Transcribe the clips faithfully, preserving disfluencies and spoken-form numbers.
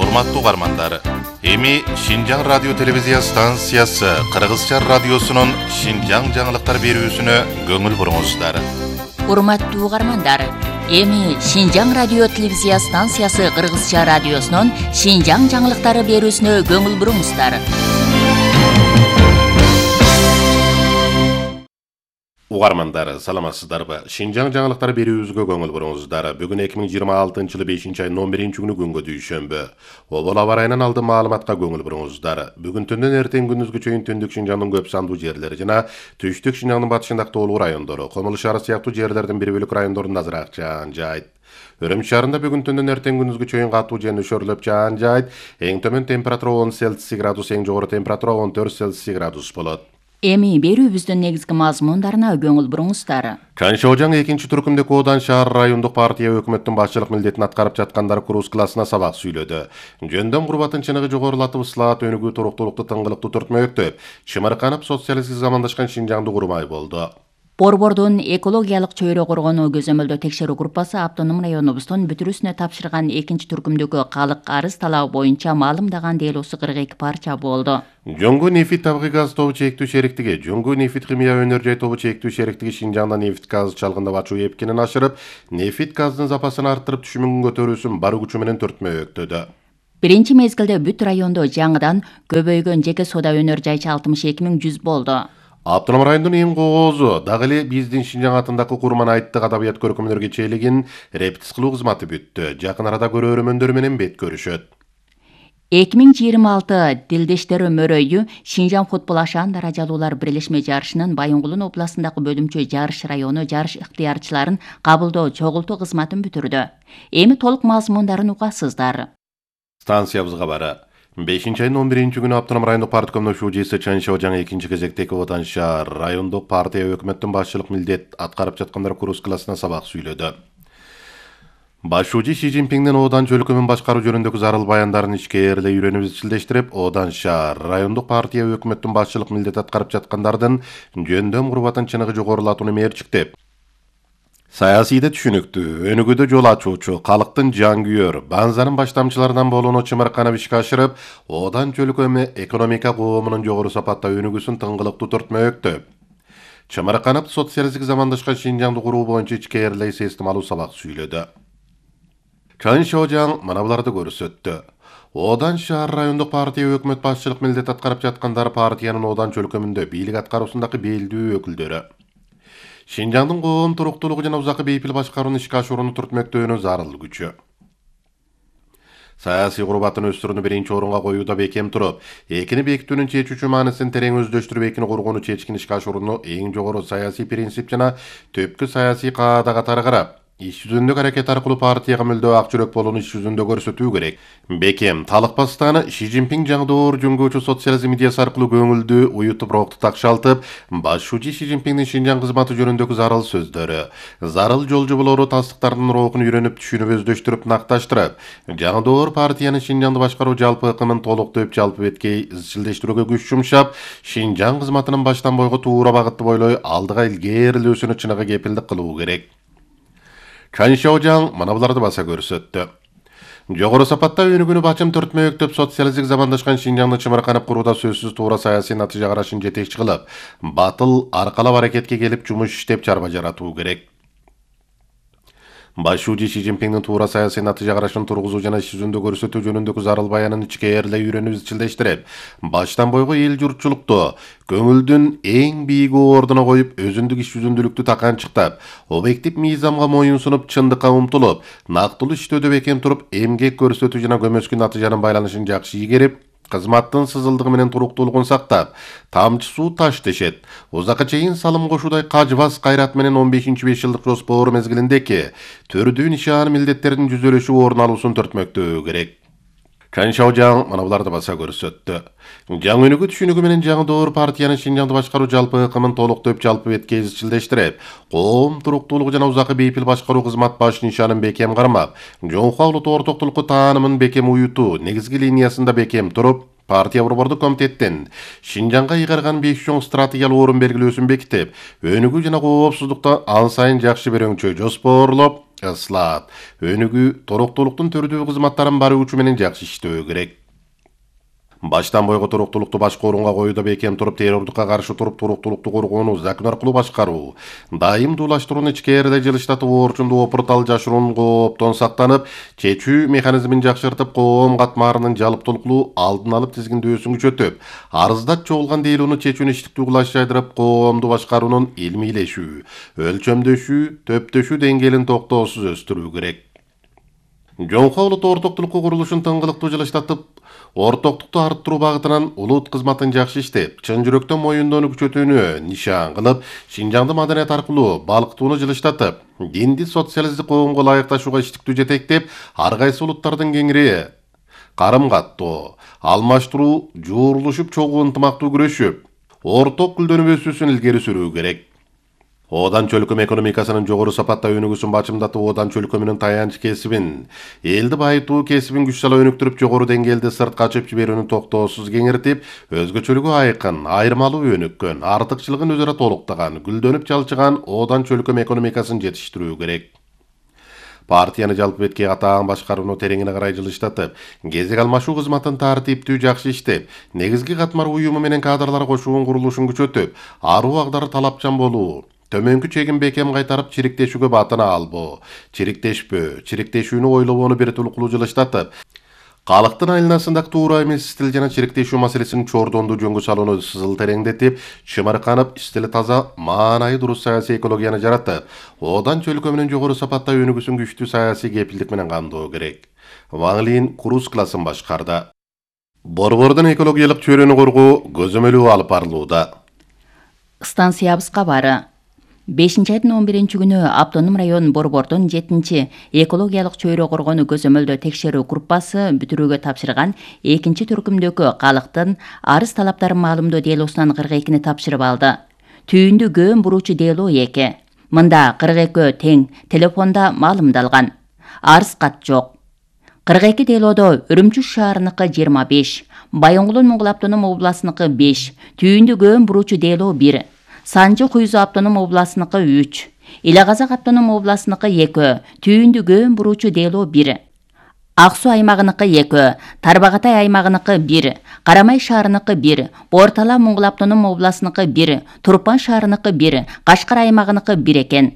Урматтуу угармандар, эми Шинжаң радио телевизия станциясы Кыргызча радиосунун Шинжаң жаңылыктар берүүсүнө көңүл буруңуздар. Урматтуу угармандар, эми Шинжаң радио телевизия станциясы Кыргызча радиосунун Шинжаң жаңылыктары берүүсүнө көңүл буруңуздар. Угармандар, саламатсыздарбы? Шинжаң жаңылыктар берүүбүзгө көңүл буруңуздар. Бүгүн эки миң жыйырма алтынчы жылы бешинчи айдын он биринчи күнү күнгө дүйшөмбү. Обол аба ырайынан алдын маалыматка көңүл буруңуздар. Бүгүн түндөн эртең күндүзгө чейин түндүк Шинжаңдын көп сандуу жерлери жана түштүк Шинжаңдын батышындагы тоолуу райондору, Комул шаары сыяктуу жерлердин бир бөлүк райондорунда азыраак жаан жайт. Өрөм шаарында бүгүн түндөн эртең күндүзгө чейин катуу жана нөшөрлөп жаан жайт. Эң төмөн температура он Цельсий градус, эң жогору температура он төрт Цельсий градус болот. Эми берүүбүздүн негизги мазмундарына көңүл буруңуздар. Чаншожаң экинчи түркүмдөгү Одан шаар райондук партия өкмөттүн башчылык милдетин аткарып жаткандар курс классына сабак сүйлөдү. Жөндөн курбатын чыныгы жогорулатып, ыслаат өнүгүү, туруктуулукту, тыңгылыктуу түртмөктөп, чымырканып социалисттик замандашкан Шинжаңды курмай болду. Борбордун экологиялык чөйрө коргонуу көзөмөлдөө текшерүү группасы автоном районубуздун бүтүрүүсүнө тапшырган экинчи түркүмдөгү калык арыз талабы боюнча маалымдаган делосу кырк эки парча болду. Жоңгу нефит табигый газ тобу чектүү шериктиги, Жоңгу нефит химия өнөр жай тобу чектүү шериктиги Шинжаңда нефит газ чалгындап ачуу эпкинин ашырып, нефит газдын запасын арттырып, түшүмүн көтөрүүсүн бар күчү менен түртмөктөдө. Биринчи мезгилде бүт райондо жаңыдан көбөйгөн жеке соода өнөр жайчы алтымыш эки миң жүз болду. Автоном райондун эң коозу дагы эле биздин Шинжаң атындагы Курман айттык адабият көркөмдөргө чейлигин репетиц кылуу кызматы бүттү. Жакын арада көрөрмөндөр менен бет көрүшөт. эки миң жыйырма алты Дилдештер өмөрөйү Шинжаң футбол ашаан даражалуулар бирлешме жарышынын Байынгулун областындагы бөлүмчө жарыш району жарыш ыктыярчыларын кабылдоо чогултуу кызматын бүтүрдү. Эми толук мазмундарын угасыздар. Станциябызга бара. бешинчи айдын он биринчи күнү автоном райондук парткомдун шуужиси Чаншожаң экинчи кезектеги Одан шаар райондук партия өкмөттүн башчылык милдет аткарып жаткандар курс классына сабак сүйлөдү. Башчы Си Цзиньпиңдин Одан чөлкөмүн башкаруу жөнүндөгү зарыл баяндарын ичкээрлей үйрөнүп изчилдештирип, Одан шаар райондук партия өкмөттүн башчылык милдет аткарып жаткандардын жөндөм курбатын чыныгы жогорулатууну мерчиктеп, саясийде түшүнүктүү, өнүгүүдө жол ачуучу, калктын жангүйөр, банзанын баштамчыларынан болууну чымырканып ишке ашырып, Одан чөлкөмү экономика коомунун жогору сапатта өнүгүүсүн тыңгылыктуу түртмөктөп, чымырканып социалисттик замандашкан Шинжаңды куруу боюнча ичкээрлей системалуу сабак сүйлөдү. Чаншожаң мына буларды көрсөттү. Одан шаар райондук партия өкмөт башчылык милдет аткарып жаткандар партиянын Одан чөлкөмүндө бийлик аткаруусундагы белдүү өкүлдөрү. Шинжаңдын коом туруктуулугу жана узакы бейпил башкарууну ишке ашырууну түртмөктөөнү зарыл күчү. Саясий курбатын өстүрүүнү биринчи орунга коюуда бекем туруп, экини бекитүүнүн чечүүчү маанисин терең өздөштүрүп, экини кургууну чечкин ишке ашырууну эң жогору саясий принцип жана төпкү саясий каада катары карап, иш жүзүндөгү аракет аркылуу партияга мүлдө ак жүрөк болууну иш жүзүндө көрсөтүү керек. Бекем талыкпастан Си Цзиньпиң жаңдоор жөнгөөчү социализм идеясы аркылуу көңүлдү уютуп, рухту такшалтып, башчы Си Цзиньпиңдин Шинжаң кызматы жөнүндөгү зарыл сөздөрү, зарыл жол жоболору тастыктардын рухун үйрөнүп, түшүнүп, өздөштүрүп, накташтырып, жаңдоор партиянын Шинжаңды башкаруу жалпы ыкымын толуктоп, жалпы беткей изчилдештирүүгө күч жумшап, Шинжаң кызматынын баштан бойго туура багытты бойлой алдыга илгээрилөөсүнө чыныгы кепилдик кылуу керек. Чаншожаң мына буларды баса көрсөттү. Жогору сапатта өнүгүүнү бачым түртмөктөп, социалисттик замандашкан Шинжаңды чымырканып курууда сөзсүз туура саясий натыйжа карашын жетекчи кылып, батыл аркалап аракетке келип жумуш иштеп чарба жаратуу керек. Башчы Си Цзиньпиңдин туура саясий натыйжа карашын тургузуу жана иш жүзүндө көрсөтүү жөнүндөгү зарыл баянын ичкээрлей үйрөнүп изчилдештирип, баштан бойго эл журтчулукту көңүлдүн эң бийик ордуна коюп, өзүндүк иш жүзүндүүлүктү таканчыктап, объектив мыйзамга моюн сунуп, чындыкка умтулуп, нактылуу иштөөдө бекем туруп, эмгек көрсөтүү жана көмөскү натыйжанын байланышын жакшы ийгерип, кызматтын сызылдыгы менен туруктуулугун сактап, тамчы суу таш тешет, узакка чейин салым кошуудай кажбас кайрат менен он бешинчи беш жылдык жоспор мезгилиндеки төрдүү нишан милдеттердин жүзөлөшүп орун алуусун түртмөктөө керек. Чаншожаң мына буларды баса көрсөттү. Жаңы өнүгүү түшүнүгү менен жаңдоор партиянын Шинжаңды башкаруу жалпы ыкымын толуктоп, жалпы беткей изчилдештирип, коом туруктуулугу жана узакы бейпил башкаруу кызмат баш нишанын бекем кармап, жоңкуа улуттук ортоктулукку таанымын бекем уютуу, негизги линиясында бекем туруп, Партия борбордук комитеттен Шинжаңга ыйгарган беш чоң стратегиялык орун белгилөөсүн бекитип, өнүгүү жана коопсуздукта ан сайын жакшы берөңчө жоспорлоп, ыслаат, өнүгүү, туруктуулуктун түрдүү кызматтарын баруу үчүн менен жакшы иштөө керек. Баштан бойго туруктуулукту башка орунга коюуда бекем туруп, террордукка каршы туруп, туруктуулукту коргоону закон аркылуу башкаруу, дайымдуулаштырууну ичкерде жылыштатып, орчунду опуртал жашыруун кооптон сактанып, чечүү механизмин жакшыртып, коом катмарынын жалыптуулуктуу алдын алып тизгиндөөсүн күчөтүп, арыздат чогулган дейлоону чечүүнү иштиктүү кылаш жайдырып, коомду башкаруунун илмийлешүү, өлчөмдөшүү, төптөшүү деңгээлин токтоосуз өстүрүү керек. Жоңко улут ортоктулукку курулушун тыңгылыктуу жылыштатып, ортоктукту арттыруу багытынан улут кызматын жакшы иштеп, чын жүрөктөн моюндоону күчөтүүнү нишан кылып, Шинжаңды маданият аркылуу балкытууну жылыштатып, динди социалисттик коомго ылайыкташууга иштиктүү жетектеп, ар кайсы улуттардын кеңири карым-каттоо, алмаштыруу, жуурулушуп, чогуу ынтымактуу күрөшүп, орток гүлдөнүү илгери сүрүү керек. Одан чөлкөм экономикасынын жогору сапатта өнүгүүсүн бачымдатып, одан чөлкөмүнүн таянч кесибин, элди байытуу кесибин күч сала өнүктүрүп, жогору деңгээлде сыртка ачып жиберүүнү токтоосуз кеңиртип, өзгөчөлүгү айкын, айырмалуу өнүккөн, артыкчылыгын өзара толуктаган, гүлдөнүп жалчыган одан чөлкөм экономикасын жетиштирүү керек. Партияны жалпы бетке катаан башкарууну тереңине карай жылыштатып, кезек алмашуу кызматын тартиптүү жакшы иштеп, негизги катмар уюму менен кадрлар кошуунун курулушун күчөтүп, аруу агдары талапчан болуу, төмөнкү чегин бекем кайтарып, чириктешүүгө батына албоо, чириктешпөө, чириктешүүнү ойлобоону биртулуктуу жылыштатып, калктын айланасындагы туура эмес стил жана чириктешүү маселесин чордондуу жөнгө салууну сызыл тереңдетип, чымырканып, стили таза, маанайы дурус саясий экологияны жаратып, одан чөлкөмүнүн жогору сапатта өнүгүүсүн күчтүү саясий кепилдик менен камдоо керек. Ван Лин круз классын башкарды. Борбордун экологиялык чөйрөнү коргоо көзөмөлү алып барылууда. Станциябызга бары. бешинчи айдын он биринчи күнү Автоном район Борбордун жетинчи экологиялык чөйрө коргоону көзөмөлдөө текшерүү группасы бүтүрүүгө тапшырган экинчи түркүмдөгү калктын арыз талаптарын маалымдоо делоосунан кырк экини тапшырып алды. Түйүндү көөн буруучу делоо эки. Мында кырк экөө тең телефонда маалымдалган. Арыз кат жок. кырк эки делоодо Үрүмчү шаарыныкы жыйырма беш, Байоңгулун Моңгол автоном областыныкы беш, түйүндү көөн буруучу делоо бир, Санжы Куйзу автоном областыныкы үч, Эле Казак автоном областыныкы эки, түйүндү көөн буруучу делоо бир, Ак Суу аймагыныкы эки, Тарбагатай аймагыныкы бир, Карамай шаарыныкы бир, Бортала Моңгол автоном областыныкы бир, Турпан шаарыныкы бир, Кашкар аймагыныкы бир экен.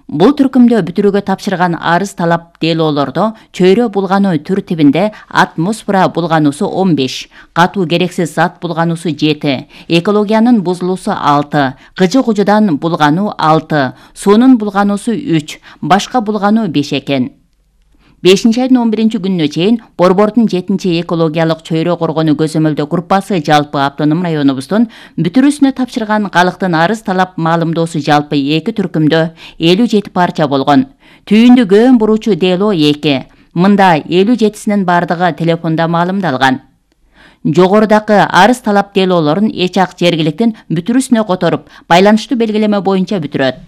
Бул түркүмдө бүтүрүүгө тапшырган арыз талап делоолордо чөйрө булгануу тертибинде атмосфера булгануусу он беш, катуу керексиз зат булгануусу жети, экологиянын бузулуусу алты, кыжы кужудан булгануу алты, суунун булгануусу үч, башка булгануу беш экен. бешинчи айдын он биринчи күнүнө чейин Борбордун жетинчи экологиялык чөйрө коргоону көзөмөлдөө группасы жалпы автоном районубуздун бүтүрүүсүнө тапшырган калктын арыз талап маалымдоосу жалпы эки түркүмдө элүү жети парча болгон. Түйүндү көөн буруучу делоо эки. Мында элүү жетисинин бардыгы телефондо маалымдалган. Жогорудагы арыз талап делоолорун эч ак жергиликтин бүтүрүүсүнө которуп, байланыштуу белгилеме боюнча бүтүрөт.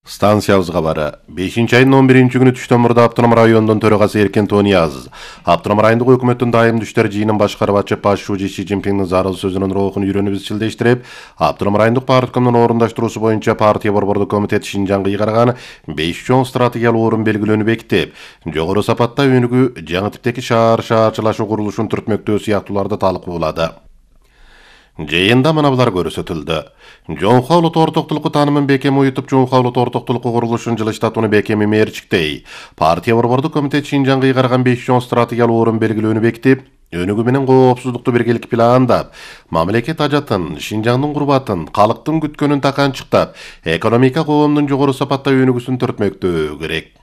Станциябызга бары. бешинчи айдын он биринчи күнү түштөн мурда Автоном районунун төрагасы Эркен Тониязов, Автоном райондук өкмөттүн дайым түштөр жыйынын башкарып ачып, башчы Си Цзиньпиндин зарыл сөзүнүн рухун үйрөнүп изчилдештирип, Автоном райондук парткомдун орундаштыруусу боюнча партия борбордук комитет Шинжаңга ыйгарган беш чоң стратегиялык орун белгилөөнү бекитип, жогору сапатта өнүгүү, жаңы типтеги шаар шаарчылашуу курулушун түртмөктөө сыяктууларды талкуулады. Жыйында мына булар көрсөтүлдү. Жоңко улут ортоктулукку таанымын бекем уютуп, Жоңко улут ортоктулукку курулушун жылыштатууну бекем мерчиктей. Партия борбордук комитет Шинжаңга ыйгарган беш чоң стратегиялык орун белгилөөнү бекитип, өнүгүү менен коопсуздукту биргелик пландап, мамлекет ажатын, Шинжаңдын курбатын, калктын күткөнүн таканчыктап, экономика коомдун жогору сапатта өнүгүүсүн төртмөктөө керек.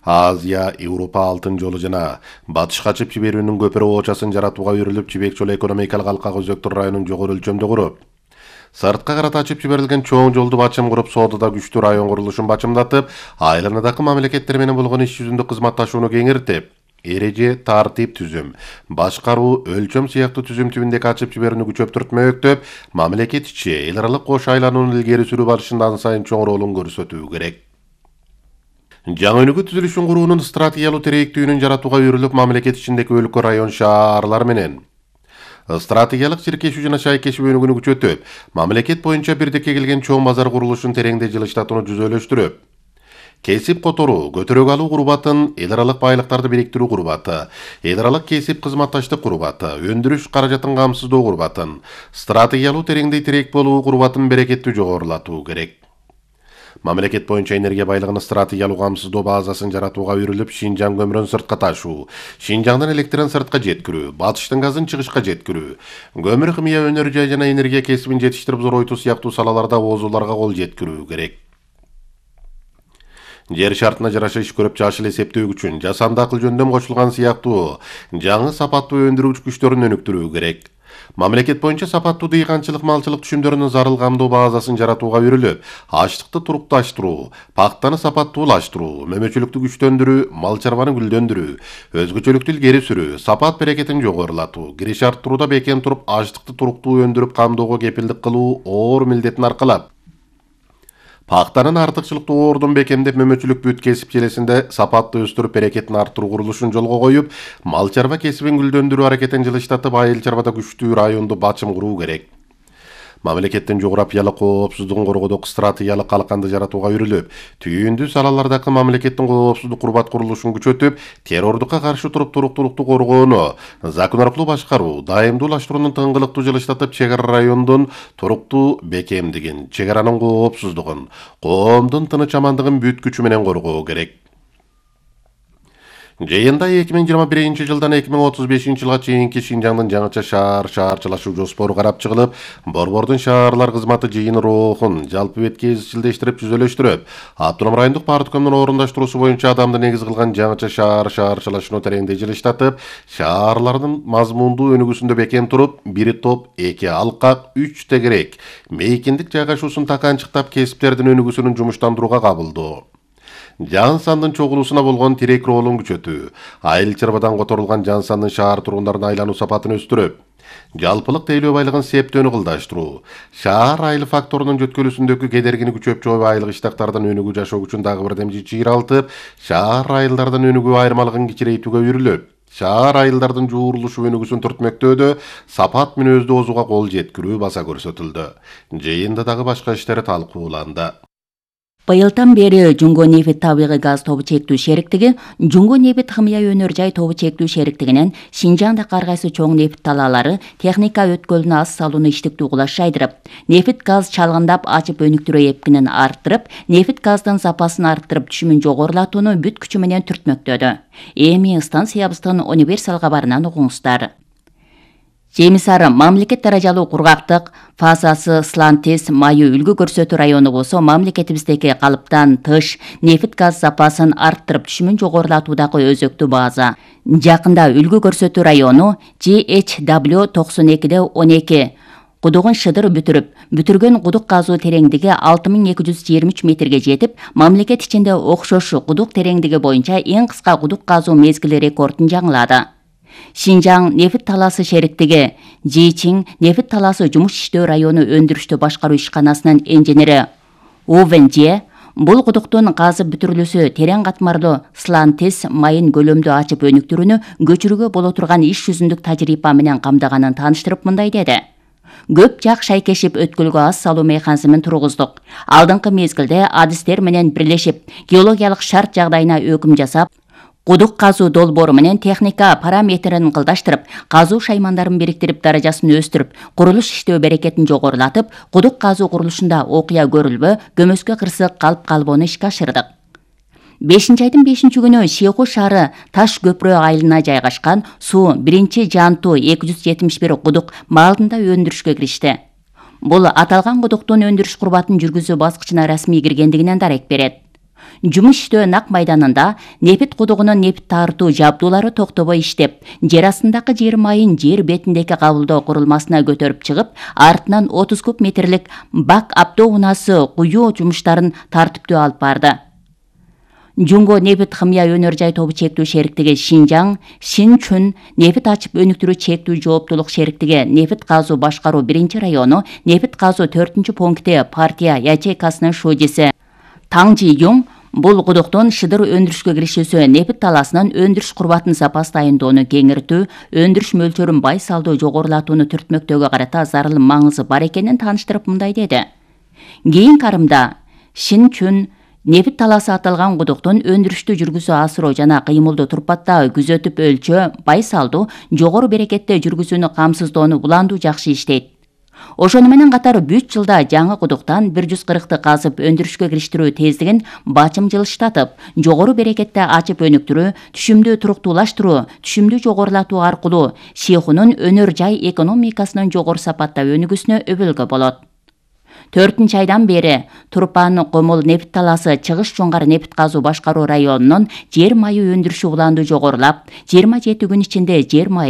Азия, Европа алтын жолу жана батыш качып жиберүүнүн көпүрө оочасын жаратууга үйрүлүп, Жибек жолу экономикалык алкак өзөктөр районун жогору өлчөмдө куруп, сыртка карата ачып жиберилген чоң жолду бачым куруп, соодада күчтүү район курулушун бачымдатып, айланадагы мамлекеттер менен болгон иш жүзүндө кызматташууну кеңиртип, эреже, тартип түзүм, башкаруу, өлчөм сыяктуу түзүм түбүндөгү ачып жиберүүнү күчөптүртмөктөп, мамлекет ичи эл аралык кош айланууну илгери сүрүү барышында ан сайын чоң ролун көрсөтүү керек. Жаңы өнүгүү түзүлүшүн куруунун стратегиялык терээктүүнүн жаратууга үйрүлүп, мамлекет ичиндеги өлкө, район, шаарлар менен стратегиялык чиркешүү жана шайкешүү өнүгүүнү күчөтүп, мамлекет боюнча бирдикке келген чоң базар курулушун тереңдей жылыштатууну жүзөлөштүрүп, кесип которуу, көтөрөк алуу курбатын, эл аралык байлыктарды бириктирүү курбаты, эл аралык кесип кызматташтык курбаты, өндүрүш каражатын камсыздоо курбатын, стратегиялуу тереңдей тирек болуу курбатын берекеттүү жогорулатуу керек. Мамлекет боюнча энергия байлыгынын стратегиялуу камсыздоо базасын жаратууга үйрүлүп, Шинжаң көмүрүн сыртка ташуу, Шинжаңдан электрин сыртка жеткирүү, батыштын газын чыгышка жеткирүү, көмүр химия өнөр жай жана энергия кесибин жетиштирип зоройтуу сыяктуу салаларда оозуларга кол жеткирүү керек. Жер шартына жараша иш көрүп жашыл эсептөө үчүн жасанды акыл жөндөм кошулган сыяктуу жаңы сапаттуу өндүрүүч күчтөрүн өнүктүрүү керек. Мамлекет боюнча сапаттуу дыйканчылык малчылык түшүмдөрүнүн зарыл камдоо базасын жаратууга үйрүлүп, ачтыкты турукташтыруу, пактаны сапаттуулаштыруу, мөмөчүлүктү күчтөндүрүү, мал чарбаны гүлдөндүрүү, өзгөчөлүктү илгери сүрүү, сапат берекетин жогорулатуу, кириш арттырууда бекем туруп, ачтыкты туруктуу өндүрүп камдоого кепилдик кылуу оор милдетин аркалап, пактанын артыкчылыктуу оордун бекемдеп, мөмөчүлүк бүт кесип желесинде сапатты өстүрүп, берекетин арттыруу курулушун жолго коюп, мал чарба кесибин гүлдөндүрүү аракетин жылыштатып, айыл чарбада күчтүү районду бачым куруу керек. Мамлекеттин жогорапиялык коопсуздугун коргоодогу стратегиялык калканды жаратууга үйрүлүп, түйүндүү салалардагы мамлекеттин коопсуздук курбат курулушун күчөтүп, террордукка каршы туруп туруктуулукту коргоону, закон аркылуу башкаруу, дайымдуулаштыруунун тыңгылыктуу жылыштатып, чек ара райондун туруктуу бекемдигин, чек аранын коопсуздугун, коомдун тыныч амандыгын бүт күчү менен коргоо керек. Жыйында эки миң жыйырма биринчи жылдан эки миң отуз бешинчи жылга чейинки Шинжаңдын жаңыча шаар шаарчылашуу жоспору карап чыгылып, Борбордун шаарлар кызматы жыйын роохун жалпы бетке изчилдештирип жүзөлөштүрүп, Автоном райондук парткомдун орундаштыруусу боюнча адамды негиз кылган жаңыча шаар шаарчылашууну тереңдей жылыштатып, шаарлардын мазмундуу өнүгүүсүндө бекем туруп, бир топ, эки алкак, үч тегерек, мейкиндик жайгашуусун таканчыктап, кесиптердин өнүгүүсүнүн жумуштандырууга кабылдоо. Жан сандын чогулуусуна болгон тирек роолун күчөтүү, айыл чарбадан которулган жан сандын шаар тургундарына айлануу сапатын өстүрүп, жалпылык тейлөө байлыгын септөөнү кылдаштыруу, шаар айыл факторунун жөткөлүүсүндөгү кедергини күчөп чоюп, айыл кыштактардын өнүгүү жашоо үчүн дагы бир демчи чыйралтып, шаар айылдардын өнүгүү айырмалыгын кичирейтүүгө үйрүлүп, шаар айылдардын жуурулушу өнүгүүсүн түртмөктөөдө сапат мүнөздүү оозуга кол жеткирүү баса көрсөтүлдү. Жыйында дагы башка иштер талкууланды. Быйылдан бери Жуңго нефит табигый газ тобу чектүү шериктиги, Жуңго нефит химия өнөр жай тобу чектүү шериктигинен Шинжаңда ар кайсы чоң нефит талаалары техника өткөлүнө аз салууну иштиктүү кулаш жайдырып, нефит газ чалгындап ачып өнүктүрүү эпкинин арттырып, нефит газдын сапасын арттырып, түшүмүн жогорулатууну бүт күчү менен түртмөктөдү. Эми станциябыздын универсал кабарынан угуңуздар. Жемисар мамлекет даражалуу кургактык фазасы Слантис майы үлгү көрсөтүү району болсо, мамлекетибиздеги калыптан тыш нефит газ запасын арттырып, түшүмүн жогорулатуудагы өзөктүү база. Жакында үлгү көрсөтүү району G H W токсон экиде он эки кудугун шыдыр бүтүрүп, бүтүргөн кудук казуу тереңдиги алты миң эки жүз жыйырма үч метрге жетип, мамлекет ичинде окшош кудук тереңдиги боюнча эң кыска кудук казуу мезгили рекордун жаңылады. Шинжаң нефит талаасы шериктиги Жичиң нефит талаасы жумуш иштөө району өндүрүштү башкаруу ишканасынын инженери Овен Же бул кудуктун казып бүтүрүлүүсү терең катмарлуу Слантис майын көлөмдүү ачып өнүктүрүүнү көчүрүүгө боло турган иш жүзүндүк тажрыйба менен камдаганын тааныштырып мындай деди. Көп жак шайкешип өткөлгө аз салуу механизмин тургуздук. Алдыңкы мезгилде адистер менен бирлешип, геологиялык шарт жагдайына өкүм жасап, кудук казуу долбоору менен техника параметрин кылдаштырып, казуу шаймандарын бириктирип, даражасын өстүрүп, курулуш иштөө берекетин жогорулатып, кудук казуу курулушунда окуя көрүлбө, көмөскө кырсык калып калбоону ишке ашырдык. бешинчи айдын бешинчи күнү Шейху шаары Таш көпүрө айылына жайгашкан суу биринчи Жанту эки жүз жетимиш бир кудук маалында өндүрүшкө киришти. Бул аталган кудуктун өндүрүш курбатын жүргүзүү баскычына расмий киргендигинен дарек берет. Жумуш иштөө Нак майданында нефит кудугунун нефит тартуу жабдуулары токтобой иштеп, жер астындагы жер майын жер бетиндеги кабылдоо курулмасына көтөрүп чыгып, артынан отуз куб метрлик бак аптоо унаасы куюу жумуштарын тартиптүү алып барды. Жуңго нефит химия өнөр жай тобу чектүү шериктиги Шинжаң, Шинчүн нефит ачып өнүктүрүү чектүү жооптулук шериктиги нефит казуу башкаруу биринчи району нефит казуу төртүнчү пункти партия ячейкасынын шудиси Таң Жи Юң Бул кудуктун шыдыр өндүрүшкө киришүүсү нефт талаасынын өндүрүш курбатын запас дайындоону кеңиртүү, өндүрүш мөлчөрүн байсалдуу жогорулатууну түртмөктөөгө карата зарыл маңызы бар экенин тааныштырып мындай деди. Кийин карымда Шинчүн нефт талаасы аталган кудуктун өндүрүштү жүргүзүү асыруу жана кыймылды турпаттагы күзөтүп өлчөө, байсалдуу, жогору берекетте жүргүзүүнү камсыздоону буландуу жакшы иштейт. Ошону менен катар бүт жылда жаңы кудуктан бир жүз кыркты казып өндүрүшкө кириштирүү тездигин бачым жылыштатып, жогору берекетте ачып өнүктүрүү, түшүмдү туруктуулаштыруу, түшүмдү жогорулатуу аркылуу Шихунун өнөр жай экономикасынын жогору сапатта өнүгүүсүнө өбөлгө болот. төртүнчү айдан бери Турпан Комул нефт талаасы Чыгыш Жоңгар нефт казуу башкаруу районунун жер майы өндүрүшү уланду жогорулап, жыйырма жети күн ичинде жер майы